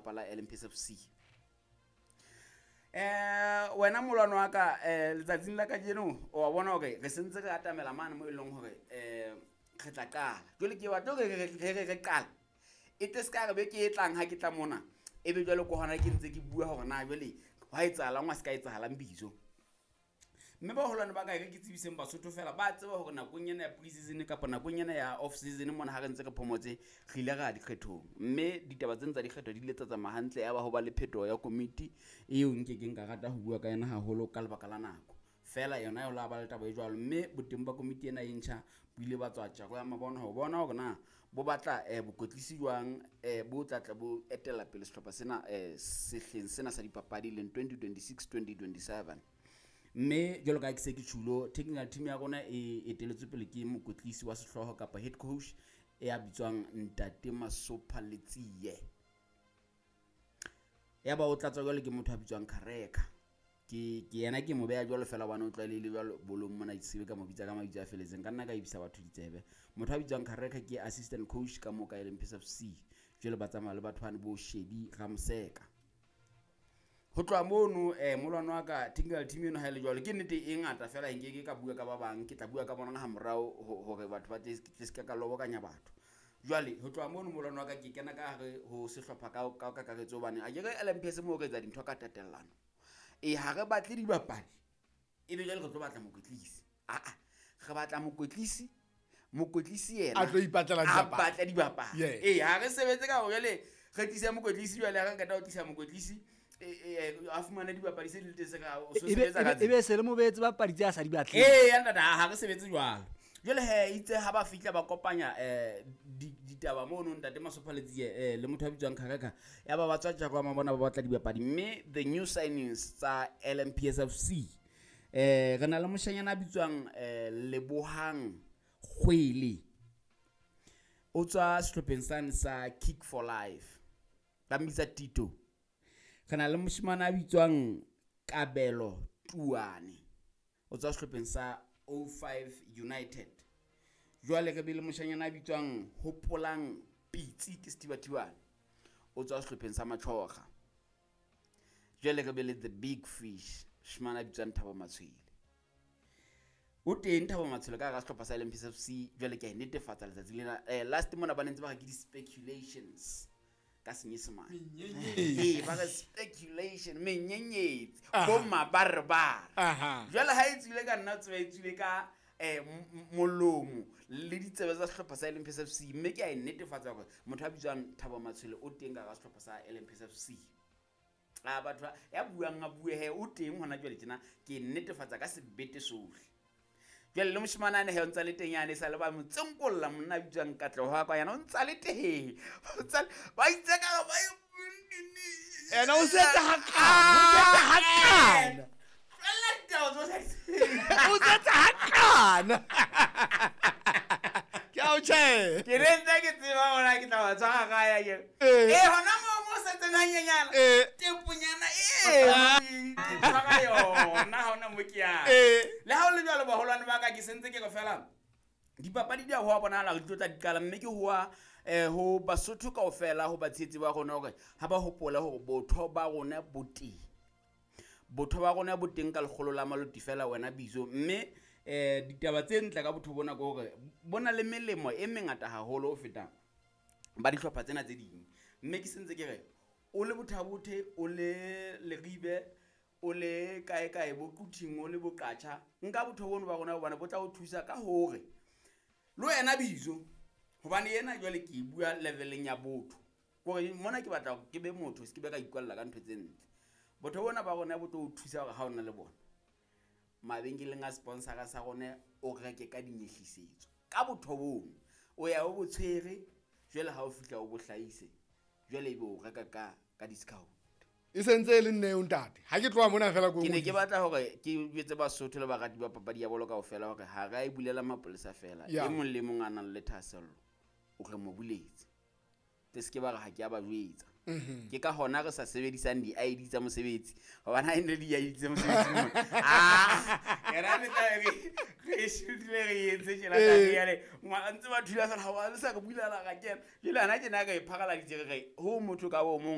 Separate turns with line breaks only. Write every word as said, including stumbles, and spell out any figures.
lelapa la L M P S F C. eh wena molwano wa ka, eh letsatsing la kajeno o wa bona hore re sentse re atamela mane mo e leng hore eh re tla qala. Jwale ke batla hore re re re re qala e tle se ka re beke e tlang ha ke tla mona, ebe jwale ko hona ke ntse ke bua hore na jwale hwa etsahalang, wa se ka etsahalang bizo. Mme baholwane ba ka, e re ke tsebiseng Basotho fela ba tseba hore nakong ena ya pre-season kapa nakong ena ya off season mona, ha re ntse re phomotse, re ile ra ya dikgethong, mme ditaba tsena tsa dikgetho di ile tsa tsamaya hantle. Ya ba ho ba le phetoho ya komiti eo nkekeng ka rata ho bua ka yona haholo ka lebaka la nako fela. Yona ya ho la ba le taba e jwalo, mme boteng ba komiti ena e ntjha bo ile ba tswa tjako ya mabona ho bona hore na bo batla um bokwetlisi jwang, um bo tla tla bo etella pele sehlopha sena um sehleng sena sa dipapadi, leng twenty twenty-six twenty twenty-seven. Mme jwalo ka ha ke se ke tjhulo, technical team ya rona e eteletswe pele ke mokwetlisi wa sehlooho kapa head coach ya bitswang Ntate Masopha Letsie. Ya ba o tlatswa jwalo ke motho a bitswang Kareka. ke ke yena ke mo beha jwalo fela hobane o tlwaelehile jwalo bolong mona, ke sebe ka mo bitsa ka mabitso a felletseng, ka nna ka ibisa batho ditsebe. Motho a bitswang Kareka ke assistant coach ka mo ka L M P S F C. Jwale ba tsamaya le batho bane bo Shedi Ramseka. Ho tloha mono, um molwano wa ka, technical team eno ha e le jwalo, ke nnete e ngata fela, nkeke ka bua ka ba bang, ke tla bua ka bona ha morao hore batho ba tle se ka ka lobokanya batho. Jwale ho tloha mono, molwano wa ka, ke kena ka hare ho sehlopha ka ka kakaretso, hobane akere L M P S moo re etsa dintho ka tatellano. E ha re batle dibapadi, ebe jwale re tlo batla mokwetlisi. Aa, re batla mokwetlisi, mokwetlisi yena
a tlo ipatlela
a
dibapadi.
Batla dibapadi.
Yes.
Ee, ha re sebetse ka hore jwale re tlise mokwetlisi, jwale ha re qeta ho tlisa mokwetlisi, e- e- a fumane dibapadi se di le teng, se ka o so
ebe
sebetsa ka
ebe- ebe se le mo beetse bapadi tse a sa di batleng.
Ee, ya ntate, ha re sebetse jwalo. Jwale he, itse ha ba fihla ba kopanya um ditaba mono, ntate Masopha Letsie um le motho a bitswang Khareka, ya ba ba tswa tjako ya mabona, ba batla dibapadi. Mme the new signings tsa L M P S F C, um re na le moshanyana a bitswang um Lebohang Kgwele, o tswa sehlopheng sane sa Kick for Life, ba mmitsa Tito. Re na le moshemane a bitswang Kabelo Tuane, o tswa sehlopheng sa O five United. Jwale re be le moshanyana a bitswang Hopolang Pitsi, ke Setibatibane, o tswa sehlopheng sa Machoga. Jwale re be le the big fish, moshemane a bitswang Thabo Matshwele. O teng Thabo Matshwele ka hara sehlopha sa L M P S F C. Jwale ke a e netefatsa letsatsi lena. eh, last mona ba ne ntse ba re ke di-speculations ka Senyesemane. Ee, ba re speculation, menyenyetsi, bo mabarebare.
Aha.
Jwale ha e tswile ka nna, tseba e tswile ka um molomo le ditsebe tsa sehlopha sa L M P S F C. Mme ke a e netefatsa hore motho a bitswang Thabo Matshwele o teng ka hara sehlopha sa L M P S F C. A batho ba- ya buang a bue he, o teng hona jwale tjena, ke netefatsa ka sebete sohle. Jwale le moshemane ane he, o ntsa le teng yane, sa le ba mo tsenkolla, monna a bitswang Katleho wa kwa, yana o ntsa le teng. O ntsa le- ba itse ka ba
Ena o setse hakana, o setse hakana.
Tlohella ditaba tso sa di tsebeng.
O setse hakana, ke a o tjhe.
Ke ne ntse ke tseba hore ke tla ba tshwara ka ya ke
Eh.
eh hona moo mo setseng hanyenyana,
Eh.
teponyana e ke tshwara yona ha hona mo ke yang.
Eh.
Le ha o le jwalo, baholwane ba ka, ke sentse ke re fela dipapadi di a hoa bonahala hore di tlo tla di qala, mme ke hoa um ho Basotho kaofela, ho batshehetsi ba rona, hore ha ba hopola hore botho ba rona bo teng, botho ba rona bo teng ka lekgolo la maloti fela, wena bizo. Mme um ditaba tse ntle ka botho bona ke hore bo na le melemo e mengata haholo ho feta ba dihlopha tsena tse ding. Mme ke sentse ke re o le Bothabothe, o le Leribe, o le kae kae, bo Quthing, o le Boqatjha, nka botho bono ba rona, hobane bo tla o thusa ka hore le wena bizo, hobane ena jwale ke e bua leveleng ya botho, kore mona ke batla hore ke be motho, se ke be ka ikwalla ka ntho tse ntle. Botho bona ba rona bo tlo o thusa hore ha o na le bona mabenkeleng a sponsora sa rona, o reke ka dinyehlisetso ka botho bono. O ya o bo tshwere, jwale ha o fihla o bo hlahise, jwale ebe o reka ka ka discount.
E sentse e le nne eo, ntate, ha ke tloha mona fela ko
Ke ne ke batla hore ke jwetse Basotho le barati ba papadi ya bolo kaofela hore ha re a e bulela mapolesa fela.
Ya.
E mong le mong a nang le thahasello, o re mo buletse, tle se ke ba re ha ke a ba jwetsa.
Mhm.
Ke ka hona re sa sebedisang di-I D tsa mosebetsi, hobane ha e ne di-I D tsa mosebetsi mona, ah, yena ne tla re re shutile, re entse tjena.
Eh.
Tate yale ngwa ntse ba thula fela, ha wa le sa re bulela, ra kena. Jwale hana tjena re e pharaladitse, re re ho motho ka bo mong.